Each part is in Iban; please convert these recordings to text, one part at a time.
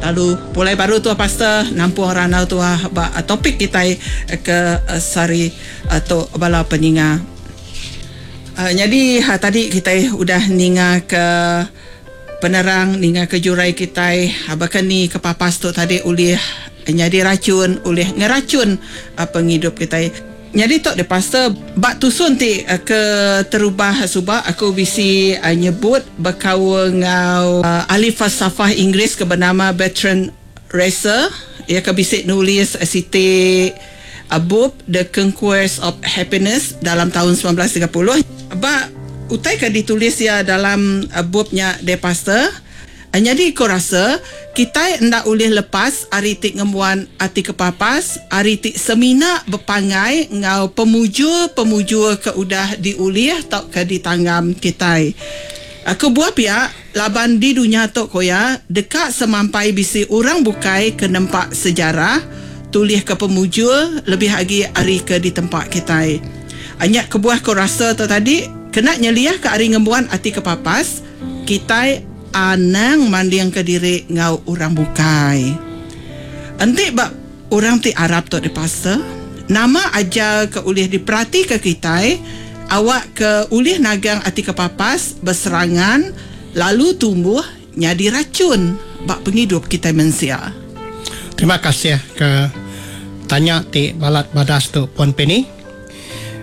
Lalu pulai baru tua pastor nampung randau tua ba topik kitai ke sehari tu bala peninga. Nyadi tadi kitai udah ninga ke penerang ninga ke jurai kitai baka ni kepapas tu tadi ulih nyadi rachun ulih ngerachun pengidup kitai. Nyadi tu deh pastor, ba tusun ti ke terubah suba aku bisi nyebut bekaul enggau ahli falsafah Inggeris ke benama Bertrand Russell iya ke bisi nulis siti bup The Conquest of Happiness dalam taun 1930. Ba utai ke ditulis iya dalam bup nya deh pastor, Nyadi ku rasa, kitai enda ulih lepas ari ti ngembuan ati kepapas ari ti semina bepanggai enggau pemujur-pemujur ke udah diulih tauka ditanggam kitai. Kebuah pia, laban di dunya tu ku iya, deka semampai bisi orang bukai ke nempa sejarah, tulihka pemujur lebih agi ari ke ditempa kitai. Nya kebuah ku rasa tu tadi, kena nyeliahka ari ngembuan ati kepapas, Kitai anang mandingka diri enggau orang bukai. Enti ba orang ti arap tu deh pastor, nama ajar ke ulih diperatika kitai awakka ulih nagang ati kepapas beserangan lalu tumbuh nyadi rachun ba pengidup kitai mensia? Terima kasih ke tanya ti balat badas tu Puan Penny.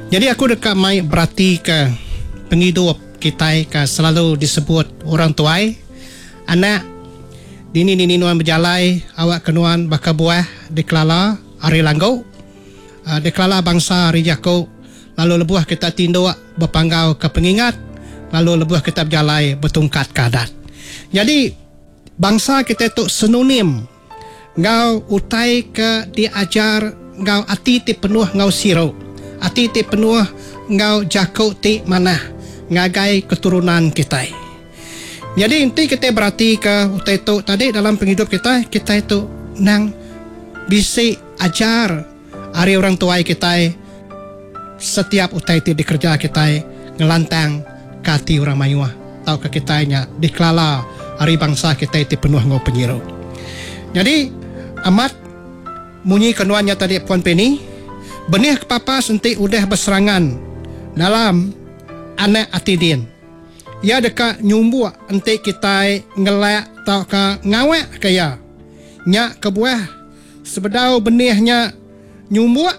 Nyadi aku deka mai beratika pengidup. Kitai ka selalu disebut orang tuai, Anak, dini-dini nuan bejalai awakka nuan baka buah dikelala ari langgu, dikelala bangsa ari jaku, lalu lebuh kita tinduk bepanggau ke pengingat, lalu lebuh kita bejalai betungkat ke adat. Nyadi, bangsa kitai tu senonim enggau utai ke diajar enggau ati ti penuh enggau siru, ati ti penuh enggau jaku ti manah ngagai keturunan kitai. Nyadi enti kitai beratika utai tu tadi dalam pengidup kitai, kitai tu endang bisi ajar ari orang tuai kitai setiap utai ti dikereja kitai ngelantang ka ati orang mayuh tauka kitai nya dikelala ari bangsa kitai ti penuh enggau penyiru. Nyadi amat munyi ke nuan nya tadi Puan Penny, benih kepapas enti udah beserangan dalam anak ati din. Iya deka nyumbuk enti kitai ngelak tauka ngawakka iya. Nya kebuah sebedau benih nya nyumbuk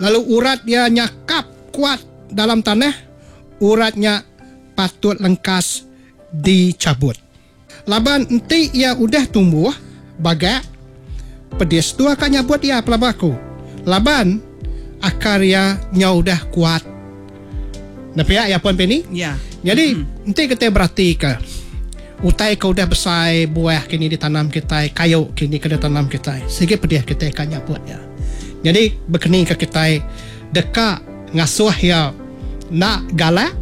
lalu urat iya nyakap kuat dalam tanah, urat nya patut lengkas dichabut. Laban enti iya udah tumbuh bagak, pedis tua ka nyabut iya pelaba aku. Laban akar iya nyau udah kuat. Enda pia iya pun Penny? Ya. Nyadi enti kitai beratika utai ke udah besai buah kini ditanam kitai, kayu kini ke ditanam kitai, sigi pedih kitai ka nyabut iya. Nyadi bekeni ka kitai deka ngasuh iya enda galak,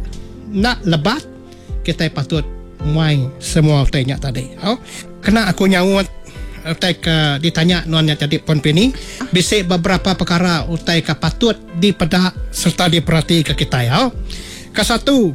enda lebat, kitai patut muai semua utai nya tadi. Au. Kena aku nyaut utai ke ditanya nuan nya tadi Puan Penny, bisi beberapa pekara utai ke patut dipeda sereta diperatika kitai. Au. Kesatu,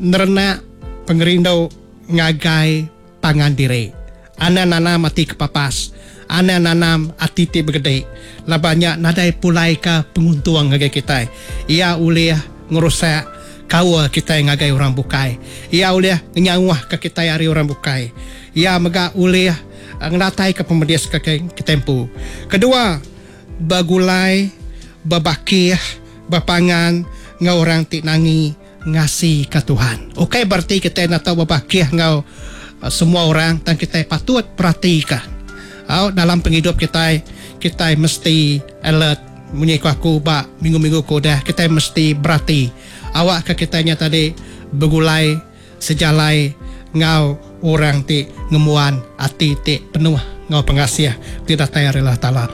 nerenak pengerindu ngagai pangan diri. Anang nanam ati kepapas. Anang nanam ati ti begedi laban nya nadai pulaika penguntung ngagai kitai. Iya ulih ngerusak kaul kitai ngagai orang bukai. Iya ulih ngenyauhka kitai ari orang bukai. Iya mega ulih ngenataika pemedis ke kitai empu. Kedua, begulai, bebakih, bepangan enggau orang ti nangi. Ngasika Tuhan. Ukai bereti kitai enda tau bebakih enggau semua orang tang kitai patut peratika. Au dalam pengidup kitai, kitai mesti alert munyi ku aku ba minggu-minggu ke udah kitai mesti berati awakka kitai nya tadi begulai sejalai enggau orang ti ngembuan ati ti penuh enggau pengasih ti datai ari Allah Taala.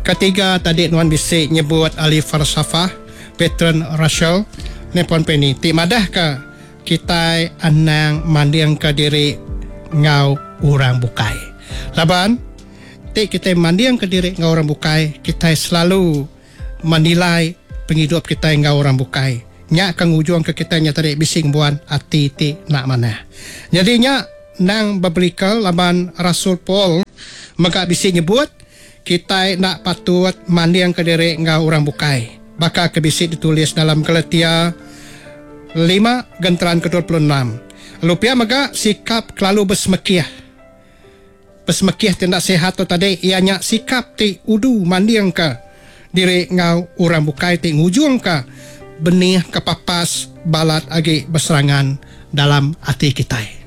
Ketiga tadi nuan bisi nyebut ahli falsafah Bertrand Russell Nippon Penny ti madahka kitai anang mandingka diri enggau orang bukai. Laban ti kitai mandingka diri enggau orang bukai, kitai selalu menilai pengidup kitai enggau orang bukai. Nya ke ngujungka kitai nya tadi bisi ngembuan ati ti enda manah. Nyadi nya endang beblikal laban Rasul Paul. mega bisi nyebut kitai enda patut mandingka diri enggau orang bukai baka ke bisi ditulis dalam Galatia lima genteran ke 26. Lalu pia mega sikap kelalu besemekih. Besemekih ti enda sihat tu tadi iya nya sikap ti udu mandingka diri enggau orang bukai ti ngujungka benih kepapas balat agi beserangan dalam ati kitai.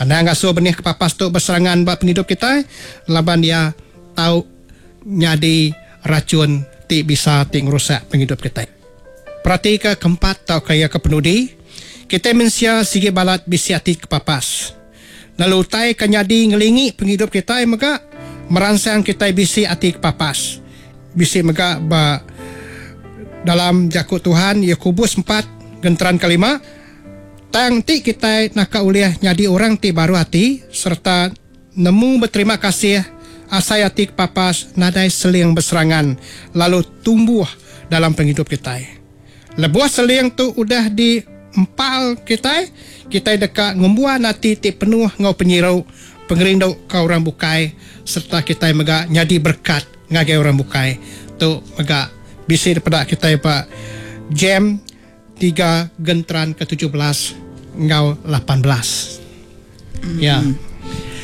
Anang ngasuh benih kepapas tu beserangan ba pengidup kitai laban iya tau nyadi rachun ti bisa ti ngerusak pengidup kitai. Peratika keempat tauka iya ke penudi, kitai mensia sigi balat bisi ati kepapas. Lalu utai ke nyadi ngelingi pengidup kitai mega meransang kitai bisi ati kepapas. Bisi mega ba dalam jaku Tuhan Yakobus empat genteran kelima, Tang enti kitai naka ulih nyadi orang ti baruh ati sereta nemu beterima kasih, asai ati kepapas nadai seling beserangan lalu tumbuh dalam pengidup kitai. Lebuh seling tu udah di empal kitai, kitai deka ngembuan ati ti penuh enggau penyiru, pengerindu ke orang bukai sereta kitai mega nyadi berekat ngagai orang bukai. Tu mega bisi dipeda kitai ba Jam tiga genteran ke 17 enggau 18. Ya.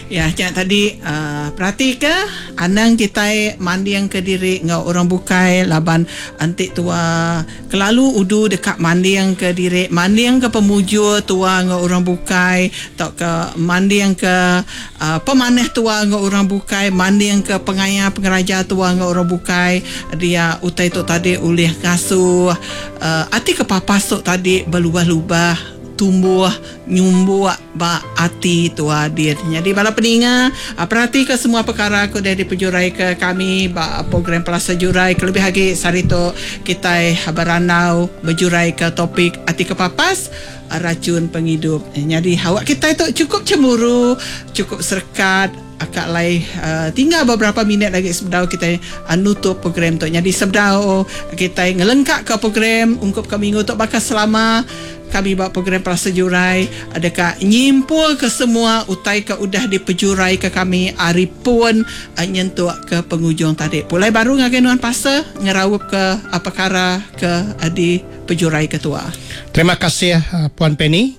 Ya, nya tadi uh, peratika anang kitai mandingka diri enggau orang bukai laban enti tua kelalu udu deka mandingka diri, mandingka pemujur tua enggau orang bukai tauka mandingka uh, pemanah tua enggau orang bukai, mandingka pengaya pengeraja tua enggau orang bukai, dia utai tu tadi ulih ngasuh uh, ati kepapas tu tadi belubah-lubah tumbuh nyumbuk ba ati tua din. Nyadi bala peninga, peratika semua pekara ke udah dipejuraika kami ba program Pelasa Jurai kelebih agi sehari tu kitai berandau bejuraika topik ati kepapas rachun pengidup. Nyadi awak kitai tu chukup chemburu, chukup serekat aka alai tinggal beberapa minit agi sebedau kitai nutup program tu. Nyadi sebedau kitai ngelengkaka program ungkup ke minggu tu baka selama Kami ba program Pelasa Jurai deka nyimpulka semua utai ke udah dipejuraika kami ari pun nyentuk ke pengujung tadi. Pulai baru ngagai nuan pastor ngeraupka pekara ke dipejuraika tua. Terima kasih Puan Penny.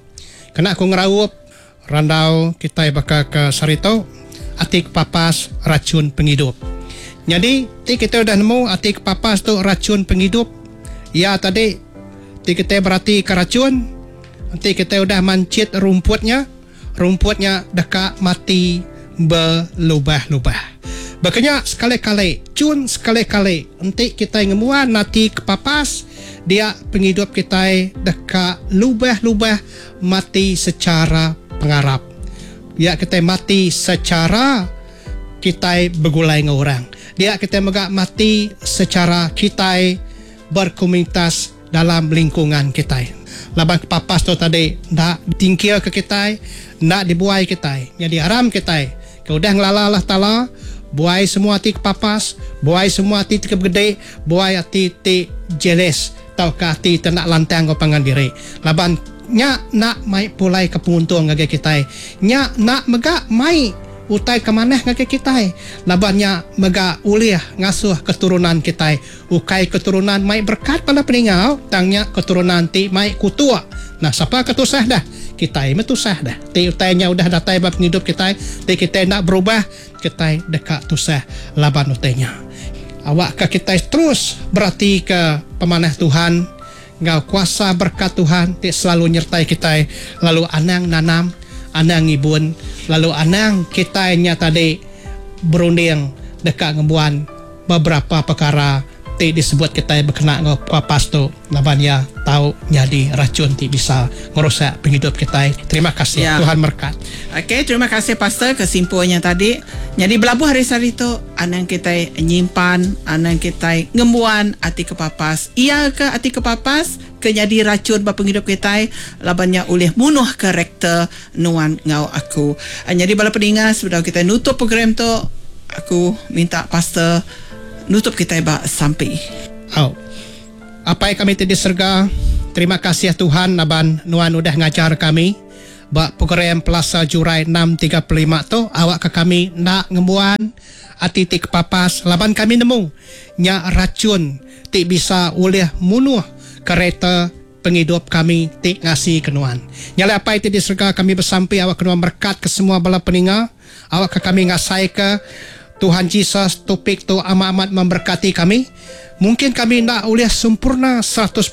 Kena aku ngeraup randau kitai baka ke sehari tu, ati kepapas rachun pengidup. Nyadi ti kitai udah nemu ati kepapas tu rachun pengidup iya tadi ti kitai beratika rachun enti kitai udah manchit rumput nya, rumput nya deka mati belubah-lubah. Baka nya sekali-kali, chun sekali-kali enti kitai ngembuan ati kepapas dia pengidup kitai deka lubah-lubah mati secara pengarap. Dia kitai mati secara kitai begulai enggau orang. Dia kitai mega mati secara kitai berkomunitas dalam lingkungan kitai. Laban kepapas tu tadi enda ditingkilka kitai, enda dibuai kitai. Nyadi aram kitai ke udah ngelala Allah Taala, buai semua ati kepapas, buai semua ati ti kebegedi, buai ati ti jealous tauka ati ti enda lantang enggau pangan diri. Laban nya enda mai pulaika penguntung ngagai kitai. Nya enda mega mai utai ke manah ngagai kitai. Laban nya mega ulih ngasuh keturunan kitai Ukai keturunan mai berkat bala peninga tang nya keturunan ti mai kutuk. Nah sapa ke tusah dah? Kitai meh tusah dah. Ti utai nya udah datai ba pengidup kitai, ti kitai enda berubah, kitai deka tusah laban utai nya. Awakka kitai terus beratika pemanah Tuhan enggau kuasa berkat Tuhan ti selalu nyertai kitai lalu anang nanam, anang ngibun lalu anang kitai nya tadi berunding deka ngembuan beberapa pekara ti disebut kitai bekena enggau papas tu laban iya tau nyadi rachun ti bisa ngerusak pengidup kitai. Terima kasih. Ya. Tuhan merekat. Okey, terima kasih pastor ke simpul nya tadi. Nyadi belabuh hari sehari tu anang kitai nyimpan, anang kitai ngembuan ati kepapas. Iya ke ati kepapas ke nyadi rachun ba pengidup kitai laban nya ulih munuh karakter nuan enggau aku. Nyadi bala peninga sebedau kitai nutup program tu, aku minta pastor nutup kitai ba sampi. Au. Apai kami ti di serega, terima kasih Tuhan laban nuan udah ngajar kami. ba program Pelasa Jurai 635 tu awakka kami enda ngembuan ati ti kepapas laban kami nemu nya rachun ti bisa ulih munuh kereta pengidup kami ti ngasika Nuan. Nya alai Apai ti di serega kami besampi awakka Nuan merekatka semua bala peninga awakka kami ngasaika Tuhan Jesus topik tu amat-amat memberkati kami. Mungkin kami enda ulih sempurna 100%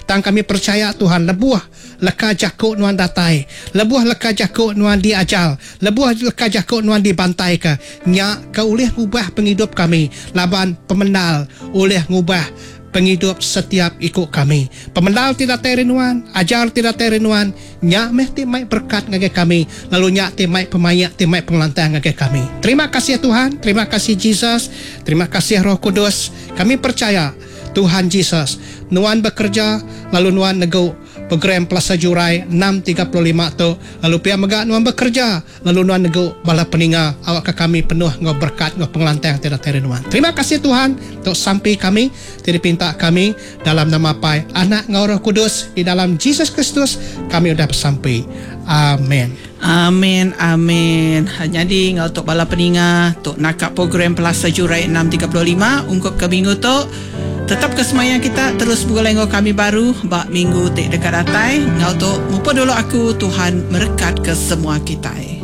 tang kami percaya Tuhan lebuh leka jaku nuan datai, lebuh leka jaku nuan diajar, lebuh leka jaku nuan dibantaika, nya ke ulih ngubah pengidup kami laban pemendar ulih ngubah pengidup setiap iku kami. Pemendar ti datai ari nuan, ajar ti datai ari nuan, nya meh ti mai berekat ngagai kami, lalu nya ti mai pemaik, ti mai pengelantang ngagai kami. Terima kasih Tuhan, terima kasih Jesus, terima kasih Roh Kudus. Kami percaya Tuhan Jesus, nuan bekereja lalu nuan negu program Pelasa Jurai 6:35 tu, lalu pia mega nuan bekereja lalu nuan negu bala peninga awakka kami penuh enggau berekat enggau pengelantang ti datai ari nuan. Terima kasih Tuhan, tu sampi kami ti dipinta kami dalam nama Apai, Anak enggau Roh Kudus, di dalam Jesus Kristus kami udah besampi. Amen. Amin amin. Nyadi enggau tu bala peninga tu naka program Pelasa Jurai 6:35 ungkup ke minggu tu. Tetap ke semaya kita terus begulai enggau kami baru ba minggu ti deka datai. Enggau tu mupuk dulu aku Tuhan merekat ke semua kitai.